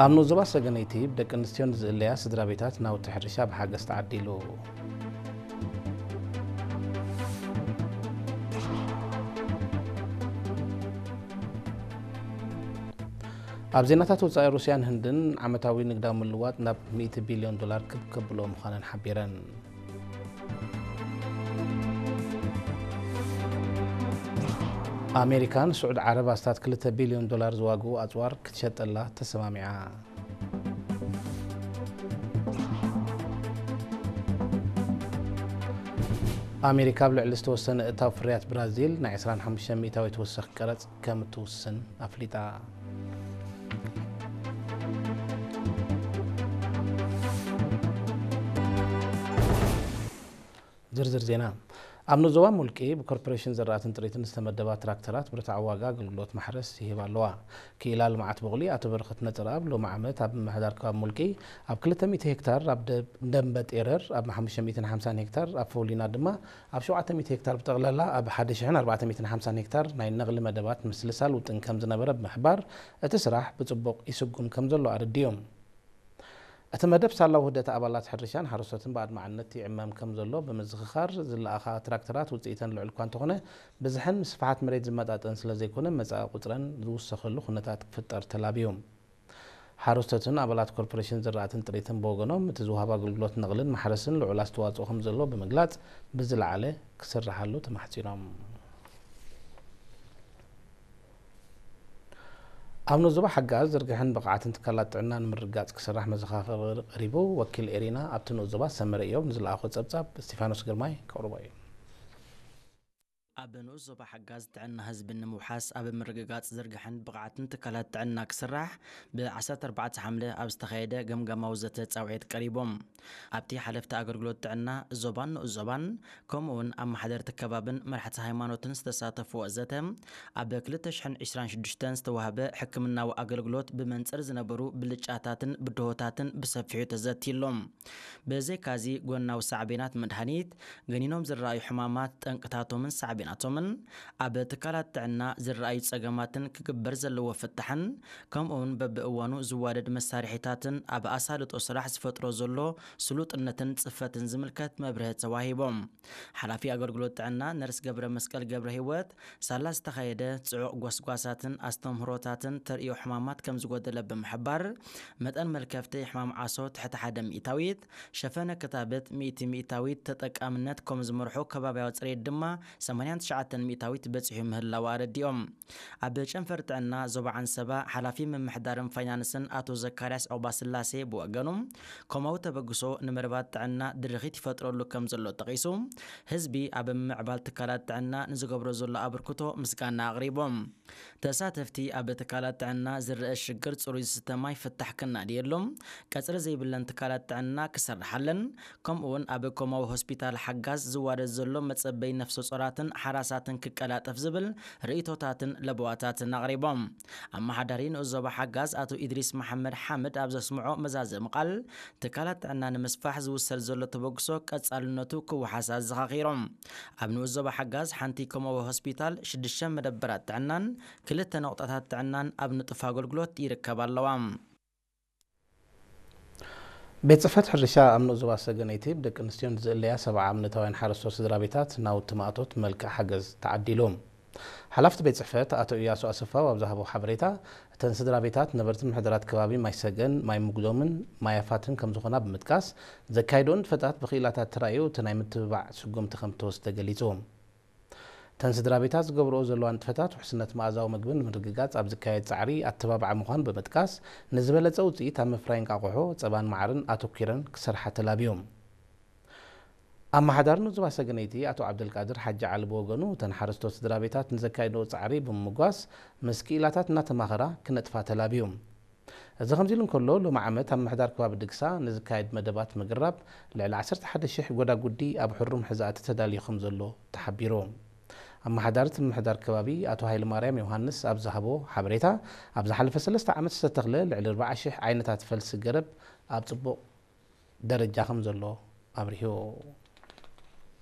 ኣብ ንኡስ ዞባ ሰገነይቲ ብደቂ ኣንስትዮ ንዝእለያ ስድራ ቤታት ናውቲ ሕርሻ ብሓገዝ ተዓዲሉ። ኣብ ዜናታት ወጻኢ፣ ሩስያን ህንድን ዓመታዊ ንግዳዊ ምልዋጥ ናብ ሚእቲ ቢልዮን ዶላር ክብ ከብልኦ ምዃነን ሓቢረን። ኣሜሪካ ንስዑድ ዓረብ ኣስታት ክልተ ቢልዮን ዶላር ዝዋግኡ ኣጽዋር ክትሸጠላ ተሰማሚዓ። ኣሜሪካ ኣብ ልዕሊ ዝተወሰነ እታው ፍርያት ብራዚል ናይ ዕስራን ሓሙሽተን ሚእታዊት ወሰኽ ቀረጽ ከም እትውስን ኣፍሊጣ። ዝርዝር ዜና። ኣብ ንኡስ ዞባ ሙልቂ ብኮርፖሬሽን ዘራእትን ጥሪትን ዝተመደባ ትራክተራት ብርትዓዊ ዋጋ ኣገልግሎት ማሕረስ ይህባ ኣለዋ። ክኢላ ልምዓት ቡቕሊ ኣቶ በረኸት ነጽረኣብ ሎሚ ዓመት ኣብ ምምሕዳር ከባቢ ሙልቂ ኣብ ክልተ ሚእቲ ሄክታር ኣብ ደ-፣ ደንበ ጤረር፣ ኣብ ሓሙሽተ ሚእትን ሓምሳን ሄክታር ኣብ ፈውሊና ድማ ኣብ ሸውዓተ ሚእቲ ሄክታር ብጠቕላላ ኣብ ሓደ ሽሕን ኣርባዕተ ሚእትን ሓምሳን ሄክታር ናይ ነቕሊ መደባት ምስልሳል ውጥን ከም ዝነበረ ብምሕባር፣ እቲ ስራሕ ብጽቡቕ ይስጉም ከም ዘሎ ኣረዲኦም። እቲ መደብ ሳላ ውህደት ኣባላት ሕርሻን ሓረስቶትን ብኣድማዕነት ይዕመም ከም ዘሎ ብምዝኽኻር፣ ዝለኣኻ ትራክተራት ውጽኢተን ልዑል እኳ እንተኾነ፣ ብዝሐን ምስፍሓት መሬት ዝመጣጠን ስለ ዘይኮነ፣ መጻኢ ቁጽረን ዝውሰኸሉ ኩነታት ክፍጠር ተላብዩ። ሓረስቶትን ኣባላት ኮርፖሬሽን ዝራእትን ጥሪትን ብወገኖም፣ እቲ ዝወሃብ ኣገልግሎት ነቕልን ማሕረስን ልዑል ኣስተዋጽኦ ከም ዘሎ ብምግላጽ፣ ብዝለዓለ ክስርሓሉ ተማሕጺኖም። ኣብ ንኡስ ዞባ ሓጋዝ ዝርግሐን ብቕዓትን ትካላት ጥዕና ንምርግጋጽ ክስራሕ መዘኻኸሪ ቀሪቡ። ወኪል ኤሪና ኣብቲ ንኡስ ዞባ ሰመረ እዮብ ንዝለኣኾ ጸብጻብ እስቲፋኖስ ግርማይ ከቕርቦ እዩ። ኣብ ንኡስ ዞባ ሓጋዝ ጥዕና ህዝቢ ንምውሓስ ኣብ ምርግጋጽ ዝርግሐን ብቕዓትን ትካላት ጥዕና ክስራሕ ብ ዓሰርተ ኣርባዕተ ሓምለ ኣብ ዝተኻየደ ገምጋማዊ ዘተ ጻውዒት ቀሪቦም። ኣብቲ ሓለፍቲ ኣገልግሎት ጥዕና ዞባን ንኡስ ዞባን ከምኡውን ኣመሓደርቲ ከባብን መራሕቲ ሃይማኖትን ዝተሳተፍዎ ዘተ፣ ኣብ ክልተ ሽሕን ዕስራን ሽዱሽተን ዝተዋህበ ሕክምናዊ ኣገልግሎት ብመንጽር ዝነበሩ ብልጫታትን ብድሆታትን ብሰፊሑ ተዘትይሎም። ብዘይካዚ፣ ጎናዊ ሳዕቤናት መድሃኒት፣ ገኒኖም ዝረኣዩ ሕማማት፣ ጠንቅታቶምን ሳዕቤናቶምን፣ ኣብ ትካላት ጥዕና ዝረኣዩ ጸገማትን ክግበር ዘለዎ ፍታሕን፣ ከምኡውን በብእዋኑ ዝዋደድ መሳርሒታትን ኣብ ኣሳልጦ ስራሕ ዝፈጥሮ ዘሎ ስሉጥነትን ጽፈትን ዝምልከት መብርሂ ተዋሂቦም። ሓላፊ ኣገልግሎት ጥዕና ነርስ ገብረ መስቀል ገብረ ህይወት፣ ሳላ ዝተኻየደ ጽዑቕ ጎስጓሳትን ኣስተምህሮታትን ተርእዮ ሕማማት ከም ዝጎደለ ብምሕባር፣ መጠን መልከፍቲ ሕማም ዓሶ ትሕቲ ሓደ ሚእታዊት፣ ሸፈነ ክታበት ሚእቲ ሚእታዊት፣ ተጠቃምነት ከም ዝመርሑ ከባብያዊ ጽሬት ድማ ሰማንያን ትሽዓተን ሚእታዊት በጺሑ ምህላው ኣረዲኦም። ኣብ ጨንፈር ጥዕና ዞባ ዓንሰባ ሓላፊ ምምሕዳርን ፋይናንስን ኣቶ ዘካርያስ ዑቕባስላሴ ብወገኑ፣ ኮማዊ ተበግሶ ንመደባት ጥዕና ድርኺት ይፈጥረሉ ከም ዘሎ ጠቒሱ፣ ህዝቢ ኣብ ምምዕባል ትካላት ጥዕና ንዝገብሮ ዘሎ ኣበርክቶ ምስጋና ኣቕሪቦም። ተሳተፍቲ ኣብ ትካላት ጥዕና ዝረአ ሽግር ጽሩይ ዝስተ ማይ ፍታሕ ክናድየሉ፣ ቀጽሪ ዘይብለን ትካላት ጥዕና ክሰርሓለን፣ ከምኡውን ኣብ ኮማዊ ሆስፒታል ሓጋዝ ዝዋደድ ዘሎ መጸበይ ነፍሰ ጾራትን ሓራሳትን ክቀላጠፍ ዝብል ርእይቶታትን ለበዋታትን ኣቕሪቦም። ኣመሓዳሪ ንኡስ ዞባ ሓጋዝ ኣቶ ኢድሪስ መሓመድ ሓምድ ኣብ ዘስምዖ መዛዘሚ ቃል፣ ትካላት ጥዕና ንምስፋሕ ዝውሰድ ዘሎ ተበግሶ ቀጻልነቱ ክወሓስ ኣዘኻኺሮም። ኣብ ንኡስ ዞባ ሓጋዝ ሓንቲ ኮማዊ ሆስፒታል፣ ሽዱሽተ መደበራት ጥዕናን ክልተ ነቑጣታት ጥዕናን ኣብ ንጡፍ ኣገልግሎት ይርከባ ኣለዋ። ቤት ጽሕፈት ሕርሻ ኣብ ንኡስ ዞባ ሰገነይቲ ብደቂ ኣንስትዮን ዝእለያ ሰብዓ እምነታውያን ሓረስቶት ስድራ ቤታት ናውቲ ማእቶት መልክዕ ሓገዝ ተዓዲሉ። ሓላፍቲ ቤት ጽሕፈት ኣቶ እያሱ ኣሰፋው ኣብ ዝሃቦ ሓበሬታ፣ እተን ስድራ ቤታት ነበርቲ ምሕደራት ከባቢ ማይ ሰገን፣ ማይ ምጉዶምን ማይ ኣፋትን ከም ዝኾና ብምጥቃስ፣ ዘካየድኦ ንጥፈታት ብክኢላታት ተራእዩ እቲ ናይ ምትብባዕ ስጉምቲ ከም እተወስደ ገሊጹ። እተን ስድራ ቤታት ዝገብርኦ ዘለዋ ንጥፈታት ውሕስነት መኣዛዊ ምግቢ ንምርግጋጽ ኣብ ዝካየድ ጻዕሪ ኣተባባዒ ምዃኑ ብምጥቃስ፣ ንዝበለጸ ውጽኢት ኣብ ምፍራይ እንቃቑሖ፣ ጸባን መዓርን ኣተኲረን ክሰርሓ ተላብዮም። ኣመሓዳሪ ንኡስ ዞባ ሰገነይቲ ኣቶ ዓብደልቃድር ሓጂ ዓሊ ብወገኑ፣ እተን ሓረስቶት ስድራ ቤታት ንዘካየድኦ ጻዕሪ ብምምጓስ፣ ምስ ክኢላታት እናተማኸራ ክነጥፋ ተላብዮም። እዚ ከምዚ ኢሉ እንከሎ፣ ሎሚ ዓመት ኣብ ምምሕዳር ከባቢ ድግሳ ንዝካየድ መደባት ምግራብ ልዕሊ ዓሰርተ ሓደ ሽሕ ጎዳጉዲ ኣብ ሕሩም ሕዛእቲ ተዳልዩ ከም ዘሎ ተሓቢሩ። ኣመሓዳሪ እቲ ምምሕዳር ከባቢ ኣቶ ሃይለማርያም ዮሃንስ ኣብ ዝሃቦ ሓበሬታ፣ ኣብ ዝሓለፈ ሰለስተ ዓመት ዝተተኽለ ልዕሊ ኣርባዓ ሽሕ ዓይነታት ፈልሲ ገረብ ኣብ ጽቡቕ ደረጃ ከም ዘሎ ኣብሪሁ።